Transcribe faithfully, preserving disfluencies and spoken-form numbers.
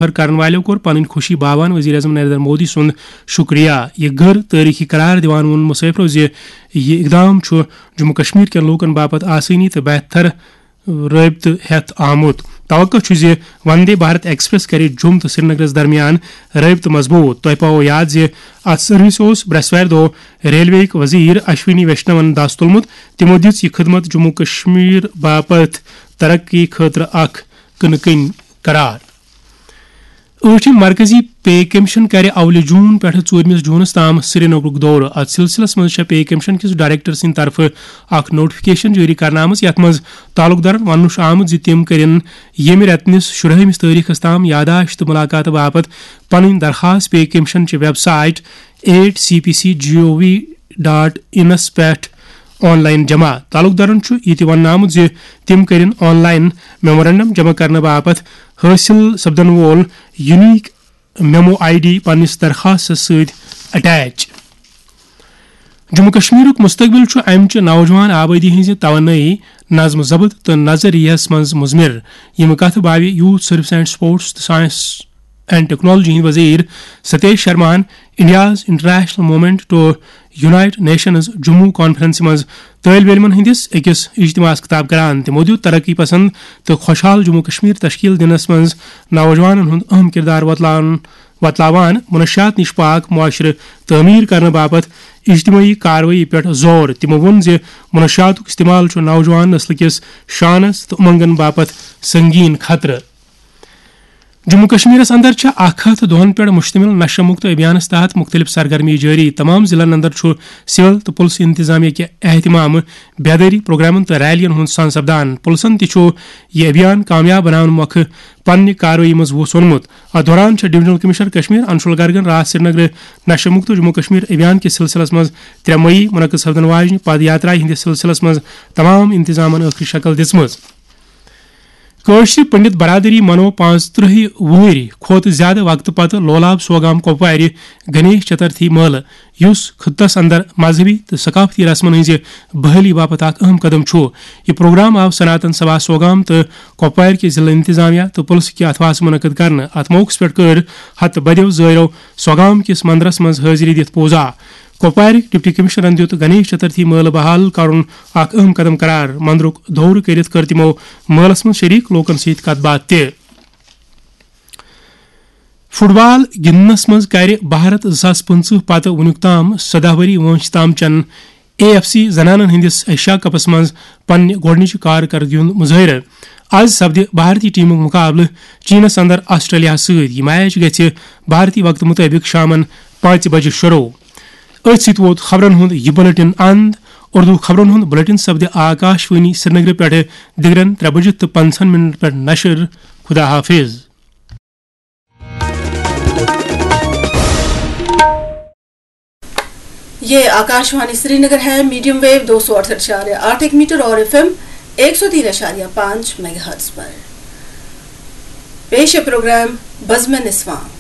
سفر کرن والٮ۪و کوٚر پنٕنۍ خوشی باوان وزیر اعظم نریندر مودی سُنٛد شکریہ۔ یہِ غٲر تٲریخی قرار دِوان ووٚن مسافرو زِ یہِ اقدام چھُ جموں کشمیر کٮ۪ن لوٗکن باپتھ آسٲنی تہٕ بہتر رٲبطہٕ ہٮ۪تھ آمُت۔ توقع چھُ زِ وندے بھارت ایکسپریس کرِ جوٚم تہٕ سرینگرس درمیان رٲبطہٕ مضبوٗط۔ تۄہہِ پاوو یاد زِ اتھ سروسہِ اوس برٛٮ۪سوارِ دۄہ ریلوے ہٕکۍ وزیر اشونی ویشنون دس تُلمُت۔ تِمو دِژ یہِ خدمت جموں کشمیر باپتھ ترقی خٲطرٕ اکھ کٕنہٕ کٕنۍ قرار۔ ٲٹھِم مرکزی پے کمیشن کرِ اولہِ جون پٮ۪ٹھٕ ژوٗرمِس جونَس تام سرینگرُک دورٕ۔ اتھ سلسلس منٛز چھےٚ پے کمیشن کِس ڈائریکٹر سٕنٛدِ طرفہٕ اکھ نوٹیفکیشن جٲری کرنہٕ آمٕژ، یتھ منٛز تعلق دارن وننہٕ چھُ آمُت زِ تِم کٔرِن ییٚمہِ رٮ۪تہٕ نِس شُرہٲمِس تٲریخس تام یاداشت تہٕ ملاقاتہٕ باپتھ پنٕنۍ درخواست پے کمیشن چہِ website at C P C G O V dot انس پٮ۪ٹھ آن لائن جمع۔ تعلق دارن چھُ یہِ تہِ وننہٕ آمُت زِ تِم کٔرِن آن لائن میمورنڈم جمع کرنہٕ باپتھ حٲصِل سپدن وول یونیک میمو آئی ڈی پننِس درخواستس سۭتۍ اٹیچ۔ جموں کشمیرُک مستقبل چھُ امہِ چہِ نوجوان آبٲدی ہٕنٛزِ توانٲیی، نظم و ضبط تہٕ نظریہس منٛز مضمر۔ یِم کتھٕ باوِ یوتھ سروس اینڈ سپورٹس تہٕ سائنس اینڈ ٹیکنالوجی ہٕنٛدۍ وزیر Satish شرماہن India's International Movement to Unite Nations Jammu کانفرنسہِ منٛز طٲلب علمن ہٕنٛدِس أکِس اجتماعس خطاب کران۔ تِمو دیُت ترقی پسند تہٕ خوشحال جموں کشمیر تشکیل دِنس منٛز نوجوانن ہُنٛد اہم کردار وۄتلاون وۄتلاوان منشیات نِش پاک معاشرٕ تعمیٖر کرنہٕ باپتھ اجتمٲعی کاروٲیی پٮ۪ٹھ زور۔ تِمو ووٚن زِ منشیاتُک استعمال چھُ نوجوان نسلہٕ کِس شانس تہٕ اُمنگن باپتھ سنگین خطرٕ۔ جموں کشمیرس اندر چھِ اکھ ہتھ دۄہن پٮ۪ٹھ مشتمل نشہ مکت ابھیانس تحت مختلف سرگرمی جٲری۔ تمام ضلعن اندر چھُ سول تہٕ پُلس انتظامیہ کہِ اہتمام بیدٲری پروگرامن تہٕ ریلین ہُنٛد سان سپدان۔ پُلسن تہِ چھُ یہِ ابھیان کامیاب بناونہٕ مۄکھٕ پننہِ کاروٲیی منٛز وُژھ ووٚنمُت۔ اتھ دوران چھےٚ ڈویژنل کمشنر کشمیر انشول گرگن راتھ سرینگرٕ نشہ مکت جموں کشمیر ابھیان کِس سلسلس منٛز ترٛےٚ مئی منعقد سپدن واجنہِ پد یاترایہِ ہٕنٛدِس سلسلس منٛز تمام انتظامن ٲخری شکل دِژمٕژ۔ کٲشرِ پنڈت برادری منوو پانٛژترٕٛہہِ وُہٕرۍ کھۄتہٕ زیادٕ وقتہٕ پتہٕ لولاب سوگام کۄپوارِ گنیش چترتھی مٲلہٕ، یُس خطس اندر مذہبی تہٕ ثقافتی رسمن ہٕنٛزِ بحالی باپتھ اکھ اہم قدم چھُ۔ یہِ پروگرام آو سناتن سبھا سوگام تہٕ کۄپوارِ کہِ ضلع انتظامیہ تہٕ پُلسہٕ کہِ اتھواسہٕ منعقد کرنہٕ۔ اتھ موقعس پٮ۪ٹھ کٔر ہتہٕ بدیو زٲیرو سوگام کِس مندرس منٛز حٲضری دِتھ پوزا۔ کۄپوارٕکۍ ڈپٹی کمشنرن دیُت گنیش چترتھی مٲلہٕ بحال کرُن اکھ اہم قدم قرار۔ مندرُک دورٕ کٔرِتھ کٔر تِمو مٲلَس منٛز شریک لوٗکَن سۭتۍ کَتھ باتھ تہِ۔ فٹ بال گِنٛدنَس منٛز کَرِ بھارت زٕ ساس پٕنٛژٕہ پتہٕ وُنیُک تام سداہ ؤری وٲنٛسہِ تام چٮ۪ن اے ایف سی زنانن ہٕنٛدِس ایشیا کپس منٛز پننہِ گۄڈٕنِچہِ کارکردگی ہُنٛد مظٲہرٕ۔ از سپدِ بھارتی ٹیمُک مقابلہٕ چینس اندر آسٹریلیا سۭتۍ۔ یہِ میچ گژھِ بھارتی وقتہٕ مُطٲبِق شامن پانٛژِ بجہِ شروع۔ أتھۍ سۭتۍ ووت خبرن ہُنٛد یہِ بلیٹن اند۔ اردو خبرن ہُنٛد بلیٹن سپدِ آکاش وانی سرینگرٕ پٮ۪ٹھٕ دِگرن ترٛےٚ بجہِ تہٕ پنٛژاہ منٹ پٮ۪ٹھ نشر۔ خدا حافظ۔ یہ آکاشوانی سرینگر ہے، میڈیم ویو دو سو اڑسٹھ اشاریہ آٹھ ایک میٹر اور ایف ایم ایک سو تین اشاریہ پانچ میگا ہرٹز پر۔ پیش ہے پروگرام بزم نسواں۔